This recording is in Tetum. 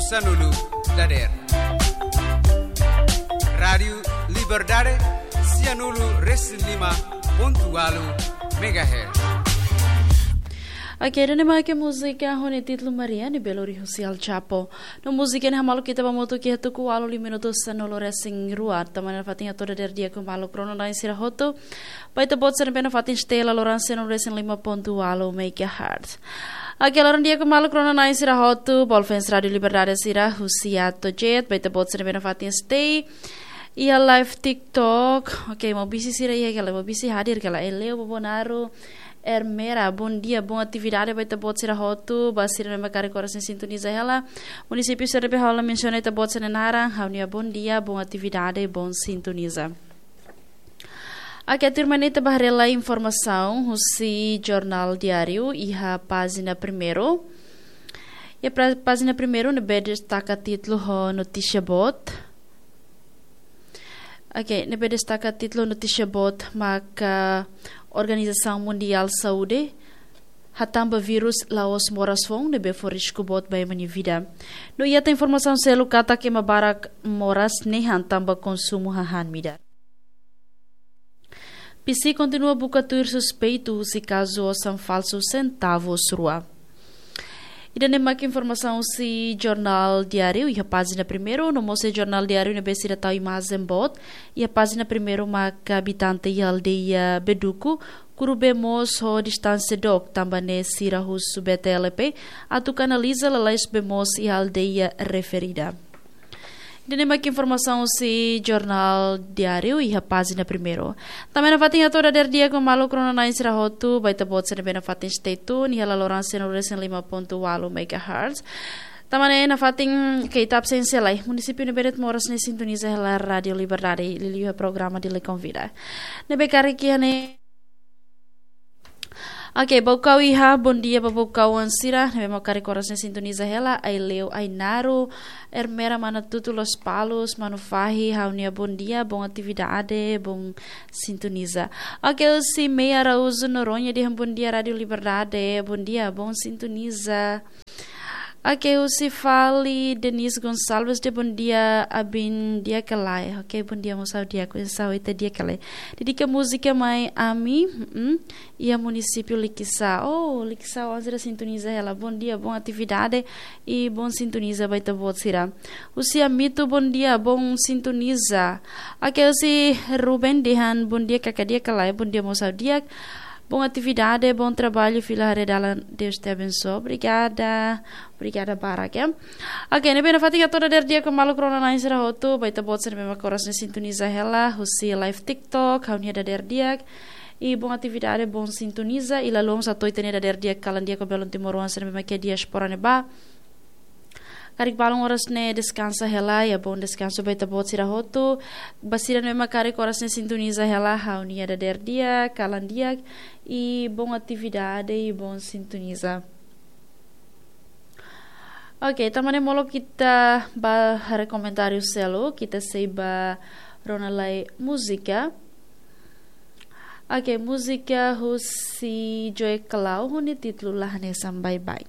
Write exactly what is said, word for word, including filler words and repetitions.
Sanulu dader. Rádiu Liberdade, sianulu resin lima pontu walu megahertz. Oke, ida-ne'e mak múzika ho nia títulu Maria, ne'ebé lori husi El Chapo. No múzika ne'e hamaluk ita ba motu ki hatuku walu lima minutu sanulu resin rua. Tanba ne'e nafatin hato'o dader di'ak ho maluk rona-na'in sira hotu. Ba ita-boot sira ne'ebé nafatin stay iha loron sianulu resin lima pontu walu megahertz. Oke, loron di'ak ho maluk rona-na'in sira hotu, boot fans Rádiu Liberdade sira, husi Atojet, ba ita-boot sira ne'ebé nafatin stay iha live TikTok. Oke, Maubisse sira iha ka lae, Maubisse hadir ka lae, Eleu, Bobonaru, Ermera, bondia, bon atividade ba ita-boot sira hotu, ba sira ne'ebé karik oras ne'e sintoniza hela. Munisípiu sira ne'ebé ha'u la mensiona ita-boot sira-nia naran, ha'u-nia bondia, bon atividade, bon sintoniza. Oke, tuirmai ne'e ita bá haree lai informasaun husi Jornál Diáriu iha pájina primeiru. Iha pra-, pájina primeiru ne'ebé destaka títulu ho notísia boot. Oke, ne'ebé destaka títulu notísia boot maka Organizasaun Mundiál Saúde hatán ba vírus la'ós moras foun ne'ebé fó risku boot ba ema nia vida. No iha tan informasaun seluk katak ema barak moras nehan tanba konsumu hahán-midar. P C kontinua buka tuir suspeitu husi kazu osan falsu sentavus rua. Ida-ne'e mak informasaun husi Jornál Diáriu iha pájina primeiru, no mós iha Jornál Diáriu ne'ebé sira tau imajen boot, iha pájina primeiru maka abitante iha aldeia Beduku, kuru bee moos ho distánsia dook, tanba ne'e sira husu B T L P atu kanaliza lalais bee moos iha aldeia referida. Ida-ne'e mak informasaun husi Jornál Diáriu iha pájina primeiru. Tanba ne'e nafatin hato'o dader di'ak ho maluk rona-na'in sira hotu, ba ita-boot sira ne'ebé nafatin stay tune iha loron sianulu resin lima pontu walu megahertz. Tanba ne'e nafatin ke ita absénsia lai. Munisípiu ne'ebé de'it moras ne'e sintoniza hela Rádiu Liberdade, liuliu iha programa Dili Konvida. Ne'ebé karik iha ne'e. Oke, Baucau iha, bondia ba Baucauan sira ne'ebé mak karik oras ne'e sintoniza hela, Aileu Ainaru, Ermera, Mana Tutu, Lospalos, Manu Fahi, ha'u-nia bondia, bon atividade, bon sintoniza. Oke, husi Mei Araújo Noronha dehan bondia Rádiu Liberdade, bondia, bon sintoniza. Oke, husi fali Denise Gonçalves dehan bondia, abin di'ak ka lae. Oke, bondia mós ha'u di'ak, oinsá ita di'ak ka lae. Dedika múzika mai ami, mm, iha munisípiu Likisá. Oh, Likisá, oan sira sintoniza hela. Bondia, bon atividade i bon sintoniza ba ita-boot sira. Husi Amito, bondia, bon sintoniza. Oke, husi Ruben dehan bondia, kaka di'ak ka lae, bondia mós ha'u di'ak. Bon atividade, bon trabalho, fila haree dalan, Deus te abençoe. Obrigada, obrigada barak, ya. Oke, ne'ebé nafatin hato'o dader di'ak ho maluk rona-na'in sira hotu, ba ita-boot sira ne'ebé mak oras ne'e sintoniza hela, husi live TikTok, ha'u-nia dader di'ak. I bon atividade, bon sintoniza, i la loos hato'o ita-nia dader di'ak, kalan di'ak ho belun timoroan sira ne'ebé mak iha diáspora ne'ebá. Karik balun oras ne'e deskansa hela, ya, bon deskansu ba ita-boot sira hotu. Ba sira ne'ebé mak karik oras ne'e sintoniza hela, ha'u-nia dader di'ak, kalan di'ak, i bon atividade, i bon sintoniza. Oke, tanba ne'e molok ita bá haree komentáriu seluk, ita sei bá rona lai múzika. Oke, múzika husi Joy Clau, ho nia títulu la hanesan baibain.